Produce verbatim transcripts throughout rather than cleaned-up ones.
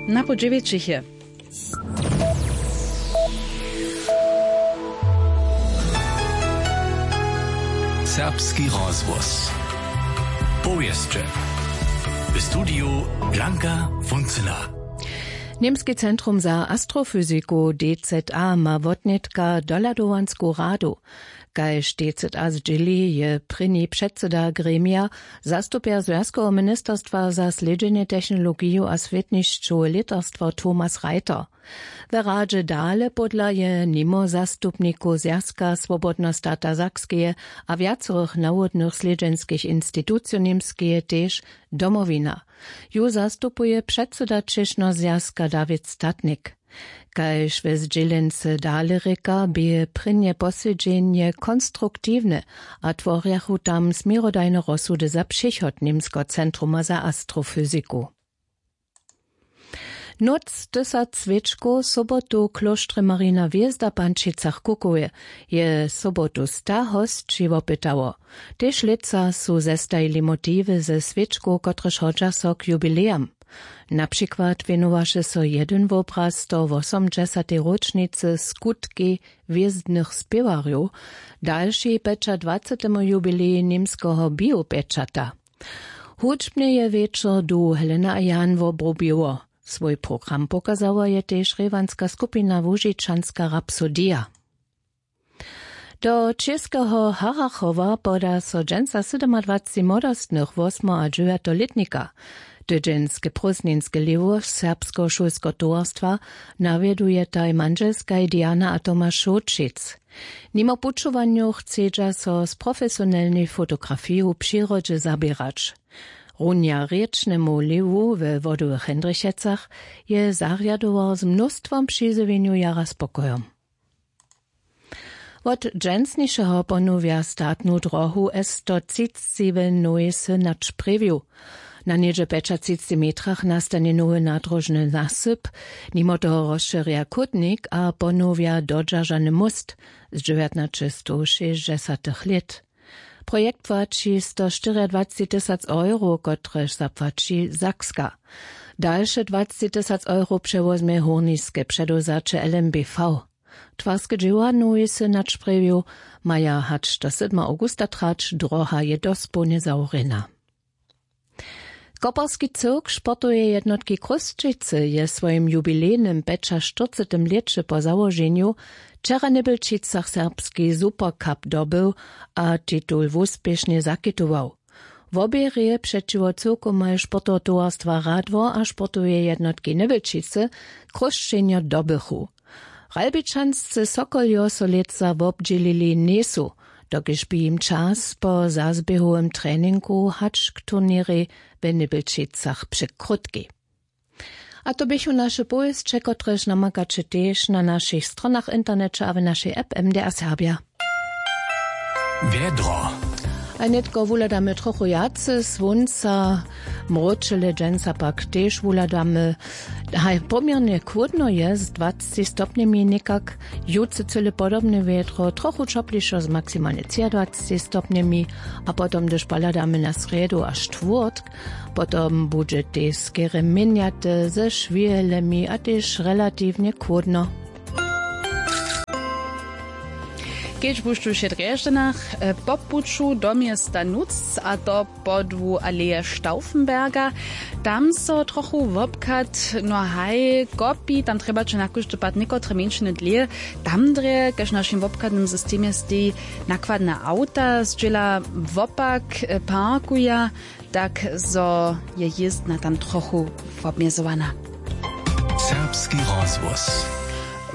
Na pół dźewjećich je. Serbski rozhłos. Powěsće. W studiju Blanka Funcyna. Němski centrum za astrofyziku, D Z A, ma wotnětka dohladowansku radu. Kaž D Z A zdźěli, je prěni předsyda gremija, zastupjer Zwjazkoweho ministerstwa za slědźenje technologiju a swětnišćowe lětarstwo Thomas Reiter. We radźe dale pódla je nimo zastupnikow Zwjazka swobodneho stata Sakskeje a wjacorych nawodnych slědźenskich institucijow Němskeje tež Domowina. Ju zastupuje předsyda Čěšneho zwjazka Dawid Statnik. Kaž we zdźělency dale rěka, bě prěnje posedźenje konstruktiwne a tworjachu tam směrodajne rozsudy za přichod Němskeho centruma za astrofyziku. Nóc tysac swěčkow sobotu w klóštrje Marina hwězda w Pančicach-Kukowje je sobotu sta hosći wopytało. Tež lětsa su zestajili motiwy ze swěčkow, kotrež hodźa so k jubilejam. Na přikład wěnowaše so jedyn wobraz stowosomdźesatej róčnicy skutkej hwězdnych spěwarjow, dalši pjećadwacetemu jubilej němskeho biopječata. Hudźbnje je wječor du Helena a Jan wobrubiło. Swój program pokazała je tež rěwanska skupina Łužičanska rapsodija. Do Čěskeho Harachowa poda so dźensa sydomadwacci młodostnych wosmo a dźewjato lětnika. Tydźenske prózdninske lěhwo serbskeho šulskeho towarstwa nawjedujetaj mandźelskaj Diana a Tomaš Šołćic. Nimo pućowanjow chcedźa so z profesionelnej fotografiju w přirodźe zaběrać. Runja rěčnemu lěhwu we Wodowych Hindrichecach je zarjadowar z mnóstwom přizjewjenjow jara spokojom. Wot dźensnišeho ponowja statnu drohu S sto třiceći w Nowej Synać Prěwju. Na něhdźe pjećatřiceći metrach nastanje nowy nadróžny nasyp, nimo toho rozšěrja chódnik a ponowja dodźeržany móst z dźewjatnaćestowšěsćdźesatych lět. Projekt płaći stoštyriadwaceći tysac euro, kotrež zapłaći Sakska. Dalše dwaceći tysac euro přewozmje hórniske předewzaće L M B V. Twarske dźěła Nowej Synać Prěwju maja hač do sydma awgusta trać, droha je dospołnje zawrjena. Koperski cyrk sportoweje jednotki Chrósćicy je w swojim jubilejnym pjećaštyrcetym lěće po załoženju wčera w Njebjelčicach serbski Supercup dobył a titul wuspěšnje zakitował. Wobě hrě přećiwo cyłkomaj sportoweho towarstwa Radwor a sportoweje jednotki Njebjelčicy Chrósćenjo dobychu. Ralbičanscy Sokoljo so lětsa wobdźělili njejsu, dokelž bě jim čas po zazběhowym treningu hač k turněrej w Njebjelčicach překrótki. A to běchu naše powěsće, kotrež namakaće tež na našich stronach w interneće a w našej app M D R Serbja. Wjedro. A nětko wuhladamy trochu wjace słónca, mróčele dźensa pak tež wuhladamy. Haj, poměrnje chłódno je z dwaceći stopnjemi někak. Jutře cyle podobne wjedro, trochu ćoplišo z maksimalnje třiadwaceći stopnjemi. A potom, hdyž pohladamy na srjedu a štwórtk, potom budźe tež skerje měnjate ze šwějelemi a tež relatiwnje chłódno. Kedźbuž tuž je w Drježdźanach, e, po puću do města Nutř, a to podłu aleje Stauffenberga, tam so trochu wobchad, no haj, kopi, tam trjebaće na kóždy pad někotre mjeńšiny dlěje. Tam drje, kaž w našim wobchadnym systemje steji, nakładne awta zdźěla wopak, e, parkuja, tak zo je jězdna tam trochu wobmjezowana. Serbski rozhłos.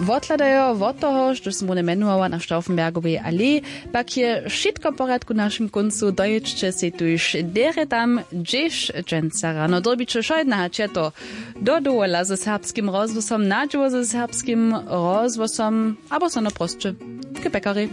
Wothładajo wot toho, štož sym runje mjenowała, na Stauffenbergowej aleji, pak je wšitko w porjadku w našim kóncu. Dojědźće sej tuž derje tam, hdźež dźensa rano dyrbiće. Wšo jedna hač je to do dowola ze Serbskim rozhłosom, na dźěło ze Serbskim rozhłosom abo so naprosće k pekarej.